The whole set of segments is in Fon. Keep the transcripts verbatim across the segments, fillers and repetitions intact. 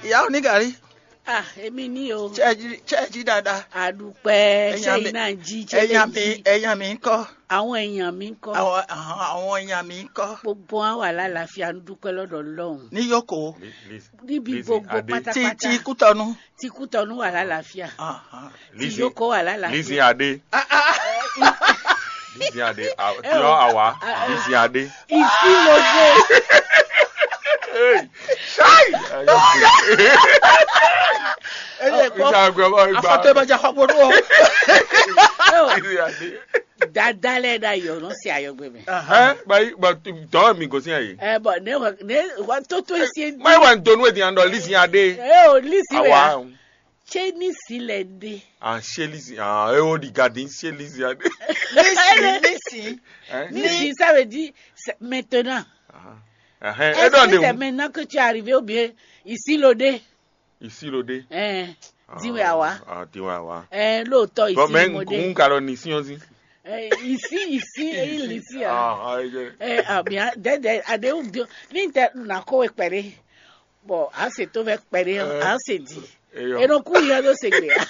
Ìyá onígàrí, Ah, èmi ní o. Ṣé ẹ jí- ṣé ẹ jí dáadáa? Àdúpẹ́, Ẹ̀yin ṣé àmì- iná jí, ṣé Ẹ̀yin lè àmì jí? Ẹ̀yin àmì ń kọ́? Àwọn èèyàn mi ń kọ́? Àwọn àwọn èèyàn mi ń kọ́? Gbogbo wọn wà lálàáfíà, ń dúpẹ́ lọ́dọ̀ Ọlọ́run. Ní Yókò. Li- Liz- Níbi Lizzy gbogbo Adé. Ti pátápátá. Ti Kútọ́nù. Ti Kútọ́nù wà lálàáfíà. Ahán. Ti Lizzy- Yókò wà lálàáfíà. Lizzy Adé. Ah, ah, ah. Lizzy Adé. Ah, Eh, Tiọ́ o. Àwa. Ah, ah. Lizzy Adé. Ìsílódé. Hey, ṣáì. Ẹ yẹ kọ́. Ìjà àgbẹ̀ bá gbà. Afọ́tọ́ ẹ bá jà kọ́kọ́ dúró. Lizzy Adé. Dada lɛ da yɔ nɔ se ayɔgbe mɛ. Ɛ bayi ba dɔn mi gosi ayi. Ɛ bɔn ne wa ne wa toto esi. Mai wa donu edi andɔ Lizzy Adé. Ɛ o Lizzy wɛ ya. Awa. Tse ni si lɛ de. Ah, ṣé Lizzy ah e o di gadi ṣé Lizzy Adé. Lizzy, Lizzy. Hein? Ni si ça veut dire c'est maintenant. Ah. Est-ce que c'est maintenant que tu es arrivé ou bien ici l'odé? Ici l'odé. Ɛ diwe awa. Ah, diwe awa. Ɛ lóòótọ́ Bon, ici mais mo dé. N ka lọ ní sí ọzí. Ɛ ici ici èyí lè sí a. Ah, ah, je- Ɛ àbí a dɛdɛ aɖewo bí ní tɛ nà kó wɛ kpɛɖé. Bɔn a se tó fɛ kpɛɖé a se di. Eyɔ. Eno kú yẹn ló se gbé a.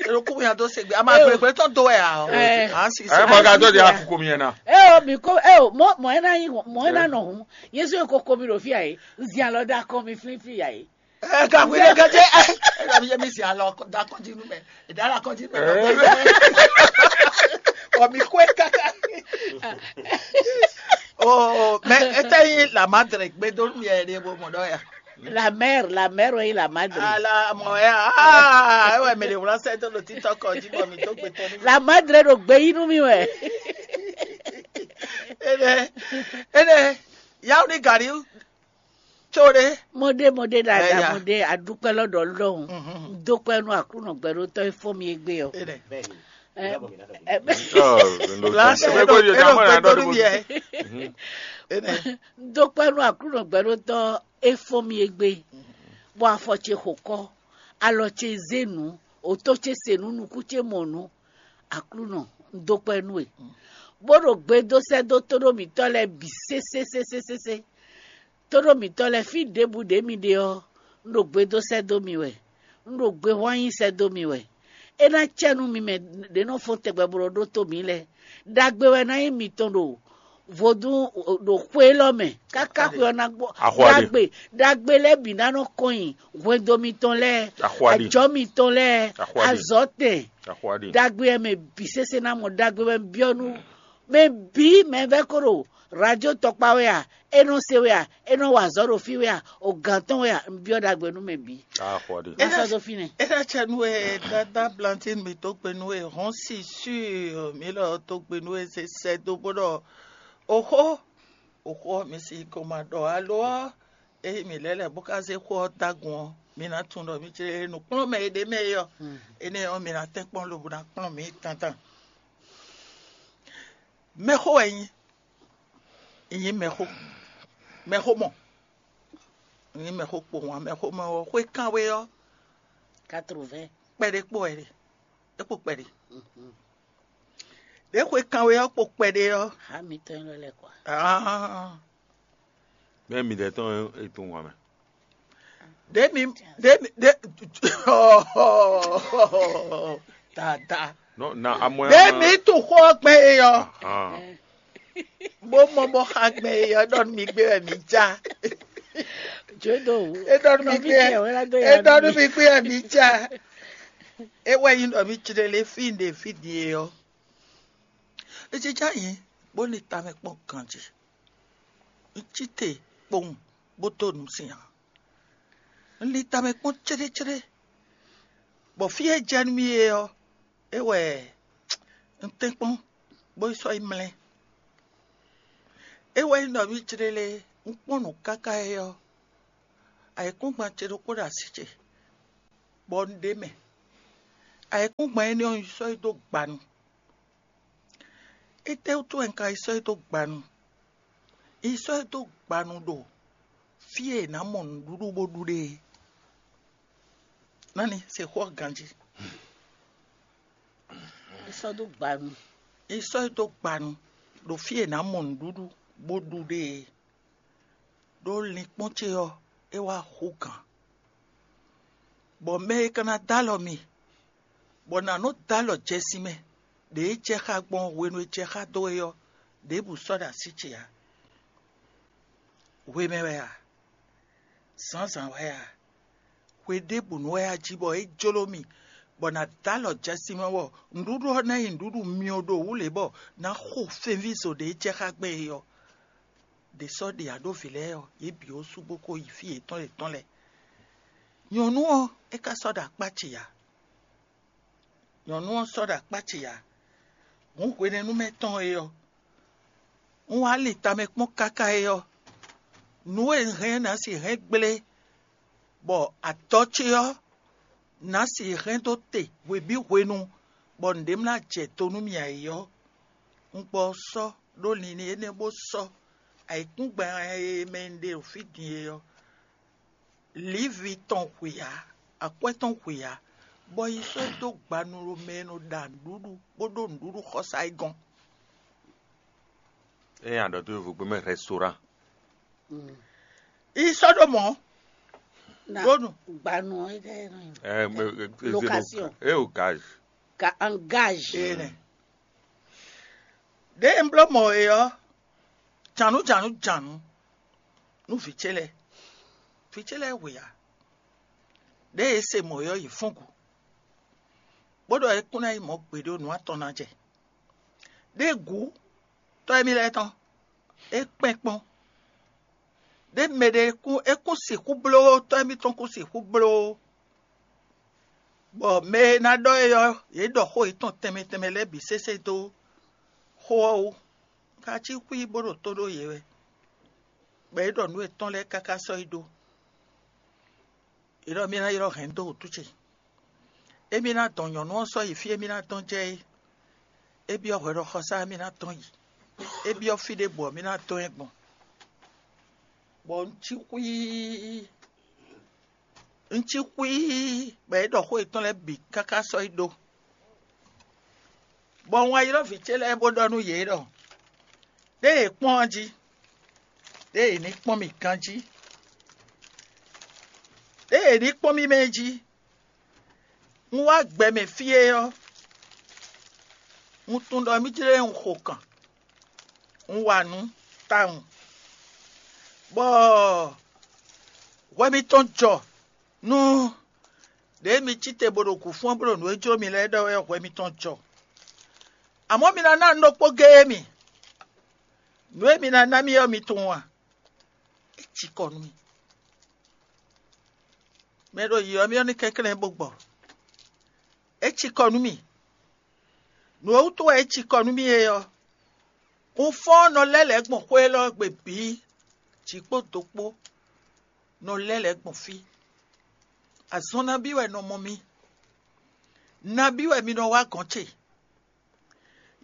Eno kú yẹn tó se gbé a máa gbé gbé tó dó ẹ a. Ɛ. A sì Ẹ bọ ká tó di akókò mi yẹn na. Ɛ o mi ko ɛ o mɔ mɔ ɛ na yi mɔ ɛ na nɔ hun yézu yẹn kókó mi ɖo fí a yìí. Zian lɔ dá kọ́ mi flínflín a yìí. Ɛ gàgbé lè gàdé ɛ ɛ gàgbé yẹ mi sì alɔ da kɔnjínú mɛ ìdá la kɔnjínú mɛ. Ɔ mi kó ẹ kaka. O mɛ ete yi la madre gbé dó mi ɛ ɖe bo mɔ dɔ ya. La mère, la mère, oui, la madre. Ala mɔ ya aa ewɛ mi le wla sɛ tó lo titɔ kɔnjí bɔ mi tó gbé tɔ ní. La madre ɖo gbé yí nú mi wɛ. Ene ene yawu ni gari. Tso ɖe. Mo ɖe mo ɖe ɖaɖa Ɛya. Mo ɖe aɖukpɛ lɔ ɖɔ lɔhùn. Mhm. Dókpɛ nú aklúnɔ gbɛɖótɔ e fɔ mi egbe ɔ. Ene. Ɛ, ɛ, Last Ẹ gbọ́dọ̀ jẹ́ ẹ̀rọ àwọn èèyàn pẹ̀lú dọ́dún mi gbogbo. Ẹ̀. Ene. Dókpɛ nú aklúnɔ gbɛɖótɔ e fɔ mi egbe. Bɔ afɔ ce xo kɔ, alɔ ce zé nǔ, òtó ce se nǔ, nukún ce mɔ nǔ. Aklúnɔ, un dókpɛ nú we. Bó ɖo gbe dó sɛ́ dó tóɖó mǐtɔn lɛ́ɛ bǐ sésésésésésé. Tóɖó mǐtɔn lɛ́ɛ fí ɖěbǔ ɖě mi ɖe ɔ́, un ɖo gbe dó sɛ́ dó mi wɛ. Un ɖo gbe hwán nyi sɛ́ dó mi wɛ. É ná cɛ nú mi mɛ ɖě nɔ fɔ́n tɛgbɛ bó nɔ ɖótó mǐ lɛ́ɛ. Ɖagbe wɛ ná nyí mitɔn ɖo vodún ɖo xwe élɔ́ mɛ káká xwe ɔ́ ná gbɔ. Axɔ́ ɖe. Ɖagbe ɖagbe lɛ́ɛ bǐ ná nɔ kɔn nyi hwendo mitɔn lɛ́ɛ, Axɔ́ ɖe. Ajɔ̌ mitɔn lɛ́ɛ, Axɔ́ ɖe. Azɔ̌tɛn. Axɔ́ ɖe. Ɖagbe wɛ mɛ bǐ sésé ná mɔ ɖagbe wɛ un byɔ́ nú mɛ bǐ mɛ vɛ́ kó ɖo radio tɔkpá wɛ a, é nɔ se wɛ a, é nɔ wa azɔ̌ ɖo fí wɛ a, o gǎn tɔn wɛ a, un byɔ́ ɖagbe nú mɛ bǐ. Axɔ́ ɖe. Má sɔ́ dó fínɛ́. É ná cɛ nú we dáadáa Blantín mi tó gbe nú we hɔn si sur mi lɔ tó gbe nú we se sɛ dó bó ɖɔ oxó oxó ɔ́ mi si ko ma ɖɔ alo ɔ́ eye mi lɛ́ lɛ̌ bó ká zé xó ɔ́ dó agun ɔ́ mi ná tunwun ɖɔ mi ce nǔkplɔ́nmɛ e ɖ'é mɛ é ɔ́ énɛ́ ɔ́ mi ná tɛ́nkpɔ́n lobo ná kplɔ́n mǐ tantan. Mɛxó wɛ nyí nyí mɛxó mɛxó mɔ nyí mɛxó kpowun ǎ. Mɛxó mɔ ɔ́ xwé kánwé ɔ́ Quatre-vingts. Kpɛɖé kpo wɛ ɖe é kpo kpɛɖé ɖě xwé kánwé ɔ́ kpo kpɛɖé ɔ́ Há mi tɔn lɔ lɛ kɔ. Ah. Bẹ́ẹ̀ mi dẹ̀ tán ètò wọn mẹ́. Ɖě mi ɖě mi ɖě dada Non, na amɔ ɖě mi tu xó ɔ́ gbɛn e ɔ́ Ah. Bó mɔ bó xa gbɛn e ɔ́ ɖɔ nú mi gbé wɛ mi já. Jodo. É ɖɔ nú mi gbé é ɖɔ nú mi gbé wɛ mi já. É wɛ nyí ɖɔ mi clé lé fí ɖe fí ɖie ɔ́. É jija nyí bó ní tamɛ kpɔ́n ganjí. Un cí te kpowun bó dó nǔ sin ǎ. Un li tamɛ kpɔ́n céɖécéɖé, bɔ fí e jɛ nú mì é ɔ́, é wɛ un tɛ́nkpɔ́n bó yi sɔ́ yi mlɛ́. É wɛ nyí ɖɔ mì céɖélé un kpɔ́n nǔ káká é ɔ́, ayǐkúngban ce ɖokpó ɖo así ce, bɔ un ɖ'é mɛ. Ayǐkúngban énɛ́ ɔ́, un yi sɔ́ yi dó gbanu. Étɛ́wútu wɛ un ka yi sɔ́ yi dó gbanu? Un yi sɔ́ yi dó gbanu ɖo fí e è nǎ mɔ nǔɖuɖu bó ɖu ɖe é. Nani se xó ɔ́ ganjí? Un sɔ́ dó gbanu. Un yi sɔ́ yi dó gbanu ɖo fí e è nǎ mɔ nǔɖuɖu bó ɖu ɖe é. Ɖó linkpɔ́n ce ɔ́, é wá hú gǎn. Bɔ mɛ e ka ná dó alɔ mi, bɔ nǎ nɔ dó alɔ jɛ sin mɛ, ɖě e jɛ xá gbɔn hwenu e jɛ xá dó é ɔ́, ɖěbǔ sɔ́ ɖo así ce ǎ. Hwe mɛ wɛ a? Zǎnzǎn wɛ a? Hwe ɖěbǔ nú wɛ a jí bɔ é jló mì, bɔ nǎ dó alɔ jɛ sin mɛ bɔ nǔɖuɖu ɔ́ ná nyí nǔɖuɖu myɔ ɖo wǔ lě bɔ nǎ xo fɛnví zo ɖě e jɛ xá gbɛn é ɔ́? Ɖě sɔ́ ɖe aɖóvǐ lɛ́ɛ ɔ́, yě bǐ ó sú bó ko yi fí yětɔn yětɔn lɛ́ɛ. Nyɔ̌nu ɔ́, é ka sɔ́ ɖo akpá ce ǎ. Nyɔ̌nu ɔ́ sɔ́ ɖo akpá ce ǎ. Hǔn hwenɛ́nu mɛ tɔn é ɔ́, un wá lin tamɛ kpɔ́n káká é ɔ́, nǔ e un hɛn ɔ́ ná sixú hɛn gblé, bɔ adɔ ce ɔ́ ná sixú hɛn dó te hwebǐ hwenu, bɔ nǔɖé ma ná jɛ do nú mì ǎ é ɔ́, un gbɔ ɔ́ sɔ́ ɖó linlin énɛ́ bó sɔ́ ayǐkúngban e mɛ un ɖe ɖo fí din é ɔ́, lǐvi tɔn hwe ǎ, akwɛ́ tɔn hwe ǎ, bɔ yi sɔ́ ɛ dó gbanu ɖo mɛ e nɔ ɖa nǔɖuɖu bó ɖó nǔɖuɖu xɔsá é gɔ́n. Ée a ɖɔ dó yovogbe mɛ restaurant. Yi sɔ́ ɖó mɔ̌. Na Bónú. Gbanu ɔ́ é ɖɛ́ nɔ nyi. Eh, eh, eh, eh, Location. Eh, o gage. Ka engage. Ee nɛ. Ɖěe un bló mɔ é ɔ́, jǎnú jǎnú jǎnú nú vǐ ce lɛ́ɛ. Vǐ ce lɛ́ɛ hwe ǎ. Ɖěe é se mɔ é ɔ́, yě fɔ́n gǔ, bó ɖɔ é kún ná nyí mɔ̌ gbeɖé nǔ atɔn ná jɛ. Ɖěe gǔ tɔ́ émí lɛ́ɛ tɔn, é kpɛ́n kpɔ́n. Ɖě mɛ ɖé kún é kún sixú bló, tɔ́ émítɔn kún sixú bló, bɔ mɛ e ná ɖɔ é ɔ́, yě ɖɔ xó yětɔn tɛnmɛ tɛnmɛ lɛ́ɛ bǐ sésé dó xó ɔ́ wú. Ka cí xwí bó ɖo tó ɖó yě wɛ, bɔ é ɖɔ nǔ yětɔn lɛ́ɛ káká sɔ́ yi ɖó. È ɖɔ mì ná ylɔ́ hɛ̌n dó wǔtu ce. Émí ná dɔn nyɔ̌nu ɔ́ sɔ́ yi fí e mì ná dɔn jɛ é. É byɔ́ hwɛɖɔxɔsá e mì ná dɔn yi. É byɔ́ fí ɖěbǔ ɔ́, mì ná dɔn ɛ gbɔn. Bɔ un cí xwíí, un cí xwíí, bɔ é ɖɔ xó yětɔn lɛ́ɛ bǐ káká sɔ́ yi ɖó. Bɔ un wá ylɔ́ vǐ ce lɛ́ɛ bó ɖɔ nú yě ɖɔ: Ɖěe è kpɔ́n ɔ́ jí, ɖěe è ní kpɔ́n mì ganjí, ɖěe è ní kpɔ́n mì mɛ jí, un wá gbɛ mɛ fí é ɔ́, un tunwun ɖɔ mì jlé un xo kan, un wa nǔ tawun, bɔ hwɛ mitɔn jɔ nú ɖě mi cí te bó ɖo gǔ fɔ́n bó ɖo nǔ e jló mi lɛ́ɛ ɖɔ wɛ ɔ́, hwɛ mitɔn jɔ. Amɔ̌ mi ná ná nǔ ɖokpó géé mì. Nǔ e mi ná ná mì ɔ́, mi tunwun a? É cikɔ nú mì. Mɛ e ɖo yǐyɔ mì ɔ́ ní kɛnklɛ́n bó gbɔ. É cikɔ nú mì. Nǔ e wútu wɛ é cikɔ nú mì é ɔ́, un fɔ́n nɔ lɛ́ lɛ̌ gbɔn xwé élɔ́ gbe bǐ, jǐ kpó do kpó, nɔ lɛ́ lɛ̌ gbɔn fí. Azɔn nabí wɛ nɔ mɔ mi? Nabí wɛ mi nɔ wá gɔ̌n ce?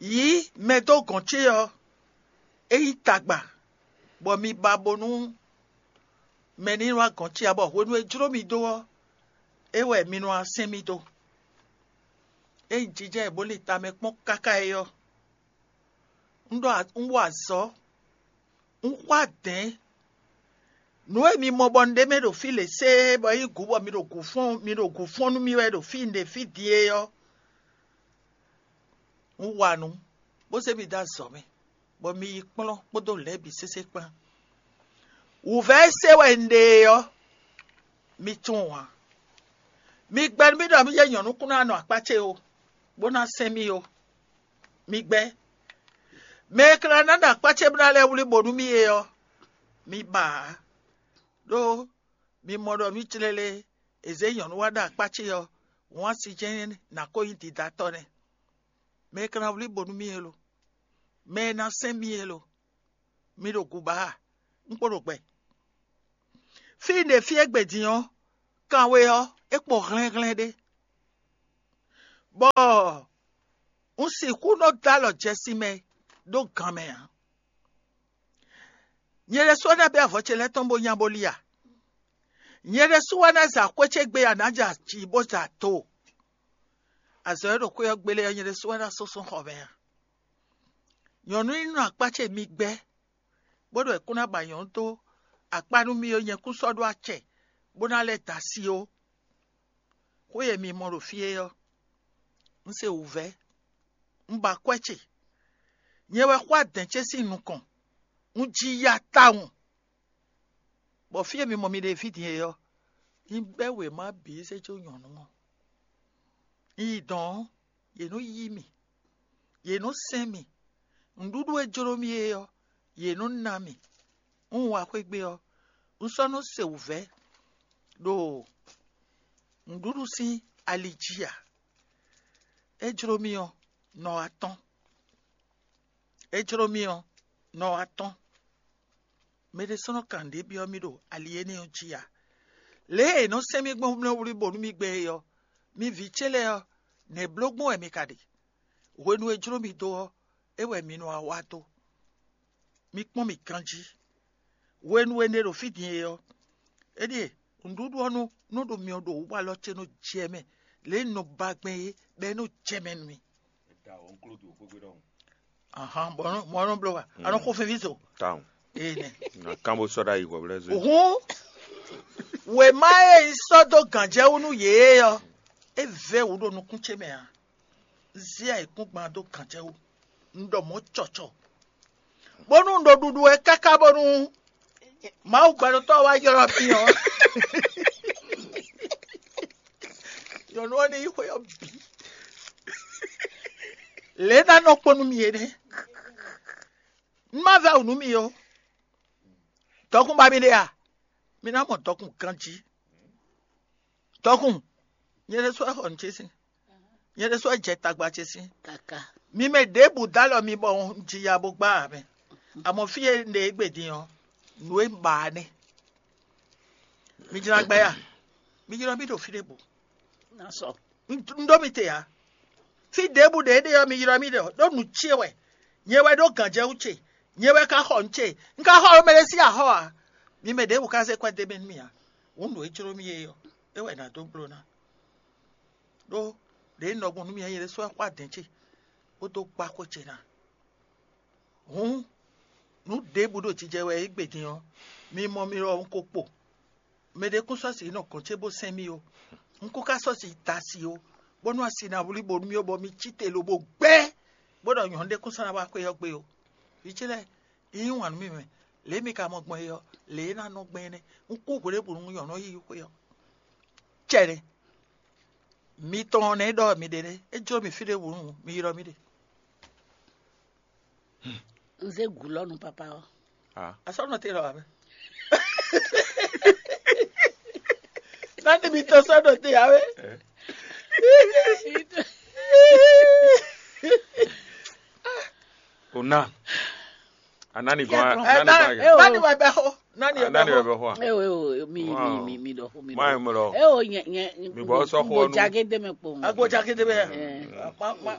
Yǐ mɛ dó gɔ̌n ce ɔ́, é nyí tagba, bɔ mi ba bónú mɛ ní wá gɔ̌n ce ǎ, bɔ hwenu e jló mi dó ɔ́, é wɛ mi nɔ wá sɛn mì dó. Ényí jijɛ e bó lin tamɛ kpɔ́n káká é ɔ́, un ɖɔ un wa azɔ̌, un xwá dɛ̌n. Nǔ e mi mɔ bɔ un ɖe mɛ ɖo fí lě sée, bɔ é nyí gǔ bɔ mi ɖo gǔ fɔ́n mi ɖo gǔ fɔ́n nú mì wɛ ɖo fí un ɖe fí din é ɔ́, un wa nǔ, bó zé mi dó azɔ̌ mɛ, bɔ mi yi kplɔ́n kpódó lɛ̌ bǐ sésé kpán. Wǔvɛ́ e se wɛ un ɖe é ɔ́, mi tunwun ǎ. Mi gbɛ́ nú mì ɖɔ mì jɛ nyɔ̌nu kún ná nɔ akpá ce ó, bó ná sɛn mì ó. Mi gbɛ́. Mɛ e ka ná ɖo akpá ce bó ná lɛ́ wlí bo nú mì é ɔ́, mi ba ǎ. Ɖó mi mɔ ɖɔ mì clélé, è zě nyɔ̌nu wá ɖo akpá ce ɔ́, wǎn si jɛ́n ná ko nyí didatɔ́ nɛ́. Mɛ e ka ná wlí bo nú mì é lo, mɛ e ná sɛn mì é lo, mi ɖo gǔba a? Un kpo ɖo gbɛ. Fí e un ɖe fí égbé din ɔ́, kanwe ɔ́, é kpo hlɛ́nhlɛ́n ɖé, bɔ un sixú nɔ dó alɔ jɛ sin mɛ ɖó gan mɛ ǎ. Nyɛ ɖésú wɛ ná bɛ́ avɔ ce lɛ́ɛ tɔn bó nya bó li a? Nyɛ ɖésú wɛ ná za xwé ce gbe a nǎ ja jǐ bó za do? Azɔ̌ e ɖo xwé ɔ́ gbélé ɔ́, nyɛ ɖésú wɛ ná súnsún xɔ mɛ a? Nyɔ̌nu e nɔ akpá ce mi gbɛ́, bó ɖo è kún ná ba nyɔ̌nu dó akpá nú mì ó, nyɛ kún sɔ́ ɖó acɛ bó ná lɛ́ da asi ó. Xó e mi mɔ ɖo fí é ɔ́, un se wǔvɛ́, un ba akwɛ́ ce. Nyɛ wɛ xwá dɛ̌n ce sín nukɔn, un ji ya tawun. Bɔ fí e mi mɔ mi ɖe fí din é ɔ́, un bɛ́ wěma bǐ zé jó nyɔ̌nu ɔ́. Un yi dɔ̌n ɔ́, yě nɔ́ yí mì, yě nɔ́ sɛ́n mì. Nǔɖuɖu e jló mì é ɔ́, yě nɔ́ ná mì. Un wá xwé gbe ɔ́, un sɔ́ nɔ́ se wǔvɛ́ ɖo nǔɖuɖu sín ali jí ǎ. É jló mì ɔ́, nɔ wá tɔ́n. É jló mì ɔ́, nɔ wá tɔ́n. Mɛ ɖésúnɔ kan ɖě byɔ́ mì ɖo ali énɛ́ ɔ́ jí ǎ. Lě e è nɔ sɛ́n mì gbɔn mlɔ́wlí bónú mì gbɛ́ é ɔ́, mi vǐ ce lɛ́ɛ ɔ́, nɛ̌ bló gbɔn wɛ mi ka ɖe? Hwenu e jló mi dó ɔ́, é wɛ mi nɔ wá wá dó. Mi kpɔ́n mì ganjí. Hwenu e un ɖe ɖo fí din é ɔ́, é ɖíe nǔɖuɖu ɔ́ nú nɔ ɖo myɔ ɖo wǔ bɔ alɔ ce nɔ jɛ mɛ, lě e un nɔ ba gbɛn é, bɔ é nɔ jɛ mɛ nú mì. Ahan, bɔ ɔ́ nɔ- mɔ ɔ́ nɔ bló wa, a nɔ xo fɛnví zo. Tawun. Ee nɛ. Na kán bó sɔ́ ɖ'ayǐ hwɛ̌ bó lɛ́ zé. Hǔn, wěma e un sɔ́ dó gǎnjɛwú nú yě é ɔ́, é vɛ́ wǔ ɖo nukún ce mɛ ǎ. Un zé ayǐkúngban dó gǎnjɛwú, un ɖɔ mɔ̌ cɔcɔ, bónú un ɖo ɖuɖu wɛ káká bónú Mawu gbɛɖotɔ́ wá ylɔ́ mì ɔ́, nyɔ̌nu ɔ́ ní yí xwé ɔ́ bǐ. Lě ná nɔ kpɔ́n nú mì é nɛ́. Un má vɛ́ wǔ nú mì ó. Dɔkun ba mi ɖe a? Mi ná mɔ dɔkun ganjí. Dɔkun, nyɛ ɖésú wɛ xɔ nǔ ce sín. Nyɛ ɖésú wɛ jɛ tagba ce sín. Kaka. Mi mɛ ɖěbǔ dó alɔ mi bɔ un ji ya bó gbá ǎ mɛ. Amɔ̌ fí e un ɖe égbé din ɔ́, nǔ e un ba ɔ́ nɛ́. Mi jlá gbɛ ya? Mi jlɔ́ mì ɖo fí ɖěbǔ. Ná sɔ. Un ɖó mi te ǎ. Fí ɖěbǔ ɖě ɖe ɔ́, mi ylɔ́ mì ɖɔ ɖó nǔ ce wɛ. Nyɛ wɛ ɖó gǎnjɛwú ce. Nyɛ wɛ ka xɔ nǔ ce. Un ka xɔ mɛ ɖé sín axɔ́ ǎ. Mi mɛ ɖěbǔ ka zé kwɛ́ d'é mɛ nú mì ǎ. Hǔn nǔ e jló mì é ɔ́, é wɛ nǎ dó bló ná. Ɖó ɖě un nɔ gbɔn nú mi ɔ́, nyɛ ɖésú wɛ xwá dɛ̌n ce, bó dó gbá xwé ce ná. Hǔn, nǔ ɖěbǔ ɖo jijɛ wɛ é gbe din ɔ́, mi mɔ mi ɖɔ un ko kpo. Mɛ ɖé kún sɔ́ sǐ nɔ gɔ̌n ce bó sɛn mì ó. Un kún ka sɔ́ sǐ da asi ó, bónú asi ná wlí bo nú mì ó, bɔ mi cí te lobo gbɛ́, bó ɖɔ nyɔ̌nu ɖé kún sɔ́ ná wá xwé ɔ́ gbe ó. Vǐ ce lɛ́ɛ, un yí wǎn nú mi mɛ. Lě e mi ka mɔ gbɔn é ɔ́, lě e é ná nɔ gbɛn é nɛ́. Un kú hwěɖěbǔ nú nyɔ̌nu ɔ́ yi xwé ɔ́. Cɛɖɛ. Mi tɔn ɔ́ nɛ́ ɖɔ mi ɖe nɛ́. É jló mi fí ɖěbǔ nu, mi ylɔ́ mì ɖe. Un zé gǔ lɔ nú papa ɔ́. Ah. Asɔ́nɔ te lɔ wǎ mɛ. Nani mi tɔn sɔ́ ɖo te ǎ wé. Eh. O ná. Anani gɔn. Ɛ, Anani na- gɔn. Ɛ, o. Nani wɛ bɛ xo? Nani wɛ Anani bɛ wɛ xo? Bɛ xo. Ɛ o, ɛ o, mi mi Wow. mi mi ɖɔ xo mi Má ɖɔ. Ɛ mlɔ. Ɛ o, nyɛ nyɛ Mi bɔ sɔ xo nu. Jage de mɛ kpɔn. Agbo jage de mɛ. Ɛ. Ma ma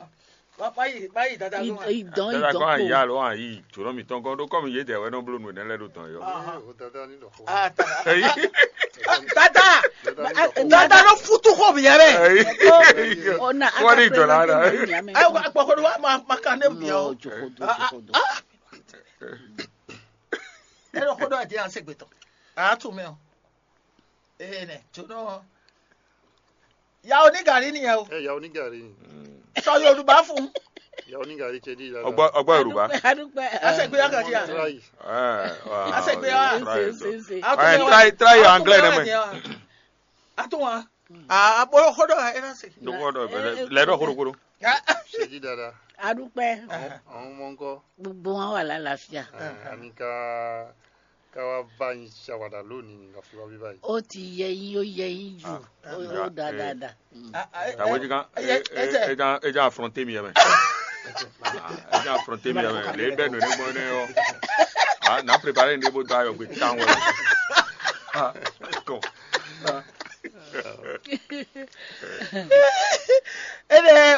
ma ma yi ma yi dada I- lɔ. Idɔn Dada idɔn kɔ kpo. Ayi alo ayi jɔlɔ mi tɔn gɔn ɖo kɔmi yé dɛ wɛ nɔ blo nu ne lɛ ɖo dɔn yɔ. Ah, ta- Eyi. Dada, dada ló futu xo mi yɛ bɛ. Eyi. Ona Wari aka dɔla president la. Ni ame. Ayi wa gbɔ ko wa ma ma kan ne mi o. Jokodo jokodo. Ɛ lɔ ko dɔ adi an se gbetɔ. A tu mɛ o. Ee nɛ, jónɔ. Yawo ní gàrí nìyẹn o. Ɛ yawo ní gàrí ni. Sọ Yorùbá fún. Yawo ní gàrí cɛ dí ìlànà. Ọgbọ ọgbọ Yorùbá. Adúpẹ́. A ṣe gbé yàgàjì à. Try. Ẹ, wà, A ṣe gbé wa. Try. Ṣe, ṣe, ṣe. A tún Ẹ, wá. Try try your anglais nẹ mẹ. A tún wá. A bolo kodo ẹ na se. Dɔgɔ dɔ bɛ lɛ dɔ korokoro. Ṣe dí dáadáa. Adúpẹ́. Àwọn àwọn ọmọ ńkọ́. Gbogbo wọn wà lálàáfíà. Ẹ, àní ká ká wá bá yín ṣàwàdà lónìí ní ká fi wá bí báyìí. Ó ti yẹ yín, ó yẹ yín jù. Ah, Ó ó dáa eh. dáadáa. Mm. Àwọn ẹja ẹja ẹja affronter mi yẹn mẹ. Ẹja affronter mi yẹn mẹ. Lè bẹ nù ní gbọ́n ní ọ. Ah, na préparer ní bó dá yọ gbé tán wẹ. Ah, kọ. Ene